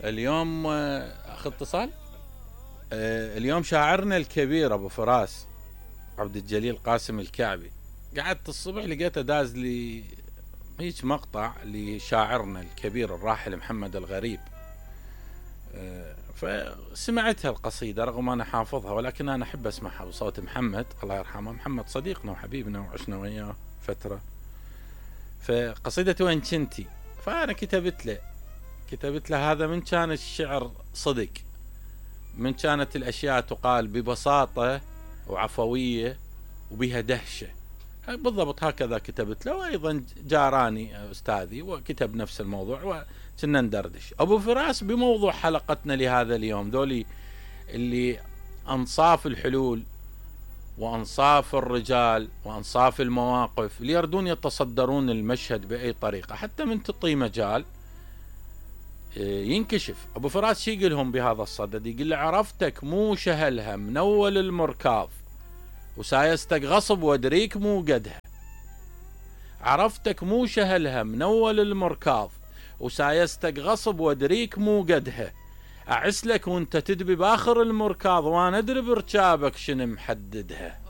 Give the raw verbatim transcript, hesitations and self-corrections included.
اليوم اخذ اتصال. اليوم شاعرنا الكبير ابو فراس عبد الجليل قاسم الكعبي، قعدت الصبح لقيته داز لي هيك مقطع لشاعرنا الكبير الراحل محمد الغريب، فسمعتها القصيدة رغم انا حافظها، ولكن انا احب اسمعها بصوت محمد الله يرحمه. محمد صديقنا وحبيبنا وعشنا وياه فترة. فقصيدة وين كنتي، فانا كتبت له كتبت له هذا من كان الشعر صدق، من كانت الاشياء تقال ببساطة وعفوية وبها دهشة، بالضبط هكذا كتبت له. وايضا جاراني استاذي وكتب نفس الموضوع وكنا ندردش. ابو فراس بموضوع حلقتنا لهذا اليوم، ذولي اللي انصاف الحلول وانصاف الرجال وانصاف المواقف اللي يردون يتصدرون المشهد باي طريقة، حتى من تعطي مجال ينكشف. ابو فراس شي يقولهم بهذا الصدد؟ يقول له عرفتك مو شهلها من اول المركاض وسايستك غصب وادريك مو قدها. عرفتك مو شهلها من اول المركاض وسايستك غصب وادريك مو قدها. اعسلك وانت تدبي باخر المركاض وانا ادري بركابك شنو محددها.